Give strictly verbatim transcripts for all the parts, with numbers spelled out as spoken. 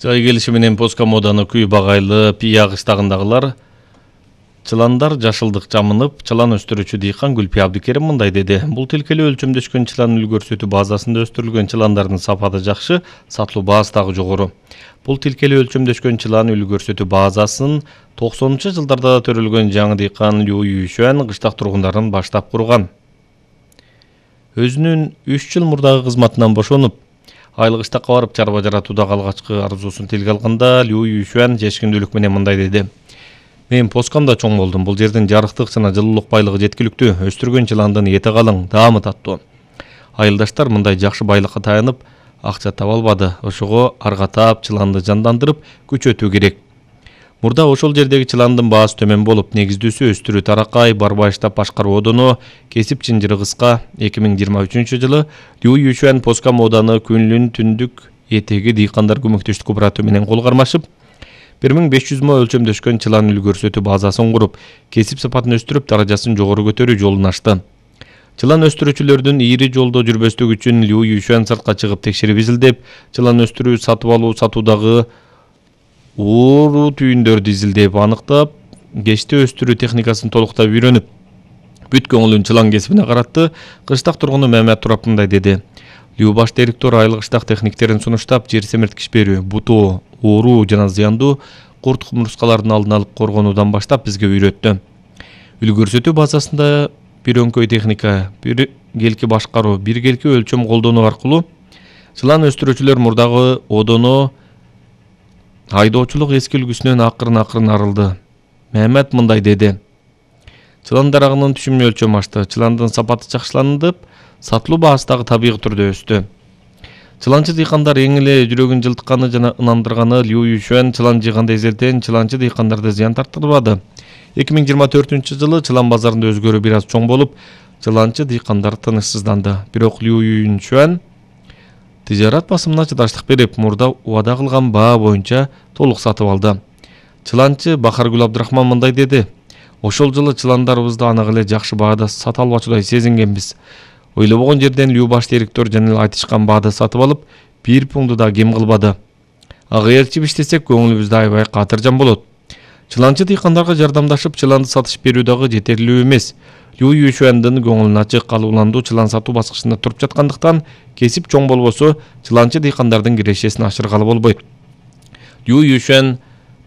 Жай келиши менен Поскомоданы күй багайлы Пия кыштагындагылар чыландар жашылдык жамынып, чылан өстүрүүчү дыйкан Гүлпия Абдикерим мындай деди. Бул тилкелүү өлчөмдөшкөн чылан үл көрсөтүү базасында өстүрүлгөн чыландардын сапаты жакшы, сатылуу баасы дагы жогору. Бул тилкелүү өлчөмдөшкөн чылан үл көрсөтүү базасын токсонунчу жылдарда төрөлгөн жаңы дыйкан Лю Юйшуан кыштак тургундарын баштап курган. Өзүнүн үч жыл мурдагы кызматынан бошонуп, айыл кыштакка барып чарба жаратуудагы алгачкы арзуусун тилге алганда Лю Юйшуан жешкиндүүлүк менен мындай деди. Мен Поскомдо чоң болдум. Бул жердин жарыктык жана жылуулук байлыгы жеткиликтүү. Өстүргөн чыландын эти калың, даамы таттуу. Айылдаштар мындай жакшы байлыкка таянып, акча таба албады. Ошого аргатап, чыланды жандандырып, күчөтүү керек. Мурда ошол жердеги чыландын баасы төмөн болуп, негиздүүсү өстүрүү таракай, барбайыштап башкаруу одону, кесип чынжыры кыска. эки миң жыйырма үчүнчү жылы Лю Юйшуан Поскомоданы күнлүн түндүк этеги дыйкандар көмөктөштүк кооперативи менен кол кармашып, бир миң беш жүз мо өлчөмдөшкөн чылан үл көрсөтүү базасын куруп, кесип сапатын өстүрүп, даражасын жогору көтөрүү жолун ачты. Чылан өстүрүүчүлөрдүн ири жолдо жүрбөстүк үчүн Лю Юйшуан сыртка чыгып текшерип изилдеп, чылан өстүрүү сатып алуу сатуудагы ууруу түйүндөрдү изилдеп аныктап, кечте өстүрүү техникасын толуктап үйрөнүп, бүт көңүлүн чылан кесибине каратты. Кыштак тургуну Мамат Турап мындай деди. Лю баш директор айыл кыштак техниктерин сунуштап, жер семирткич берүү, бутоо, ууруу жана зыяндуу курт кумурскалардын алдын алып коргонуудан баштап бизге үйрөттү. Үл көрсөтүү базасында бир өңкөй техника, бир келки башкаруу, бир келки өлчөм колдонуу аркылуу чылан өстүрүүчүлөр мурдагы одоно айдоочулук эски үлгүсүнөн акырын-акырын арылды. Мамат мындай деди. Чылан дарагынын түшүмү өлчөм ашты, чыландын сапаты жакшыланып, сатылуу баасы дагы табигый түрдө өстү. Чыланчы дыйкандар эң эле жүрөгүн жылтканы жана ынандырганы Лю Юйшуан чылан жыйганда эзелтен чыланчы дыйкандарды зыян тартырбады. эки миң жыйырма төртүнчү жылы чылан базарында өзгөрүү бир аз чоң болуп, чыланчы дыйкандар тынычсызданды. Бирок Лю Юйшуан тижарат басымына чыдаштык берип, мурда убада кылган баа боюнча толук сатып алды. Чыланчы Бахаргүл Абдрахман мындай деди. Ошол жылы чыландарыбызды анак эле жакшы баада сата албачудай сезингенбиз. Ойлобогон жерден Лю баш директор жана эле айтышкан баада сатып алып, бир пуңду да кем кылбады. Ага ээрчип иштесек көңүлүбүздө аябай катыржан болот. Чыланчы дыйкандарга жардамдашып, чыланды сатышып берүү дагы жетерлүү эмес. Лю Юйшуандын көңүлүн ачык, калууландуу чылан сатуу баскычында туруп жаткандыктан, кесип чоң болбосо, чыланчы дыйкандардын кирешесин ашыргалы болбойт. Лю Юйшуан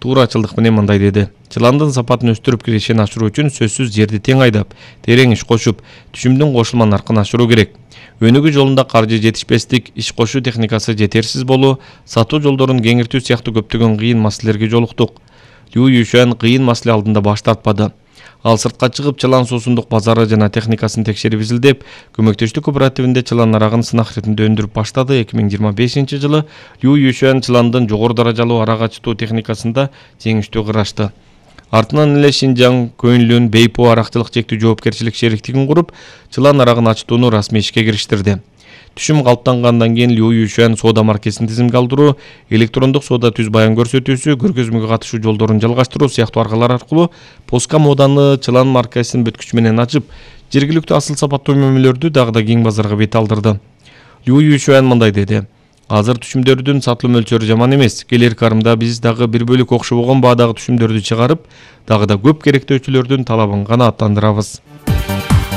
туурачылдык менен мындай деди. Чыландын сапатын өстүрүп кирешени ашыруу үчүн сөзсүз жерди тең айдап, терең иш кошуп, түшүмдүн кошулма наркын ашыруу керек. Өнүгүү жолунда каржы жетишпестик, иш кошуу техникасы жетерсиз болуу, сатуу жолдорун кеңиртүү сыяктуу көптөгөн кыйын маселелерге жолуктук. Лю Юйшуан кыйын маселе алдында баш тартпады. Ал сыртка чыгып, чылан суусундук базары жана техникасын текшерип изилдеп, көмөктөштүк кооперативинде чылан арагын сынак иретинде өндүрүп баштады. эки миң жыйырма бешинчи жылы Лю Юйшуан чыландын жогору даражалуу арак ачтуу техникасында жеңиштүү кырашты. Артынан эле Шинжаң Көнлүн Бейпо аракчылык чектүү жоопкерчилик шериктигин куруп, чылан арагын ачтууну расмий ишке кириштирди. Түшүм калыптангандан кийин Лю Юйшуан соода маркесин тизимге алдыруу, электрондук соода түз баян көрсөтүүсү, көргөзмөгө катышуу жолдорун жалгаштыруу сыяктуу аргалар аркылуу Поскомоданы чылан маркесин бүткүч менен ачып, жергиликтүү асыл сапаттуу мөмөлөрдү дагы да кең базарга бет алдырды. Лю Юйшуан мындай деди. Азыр түшүмдөрдүн сатылуу мөлчөрү жаман эмес. Келер карымда биз дагы бир бөлүк окшобогон баадагы түшүмдөрдү чыгарып, дагы да көп керектөөчүлөрдүн талабын канааттандырабыз.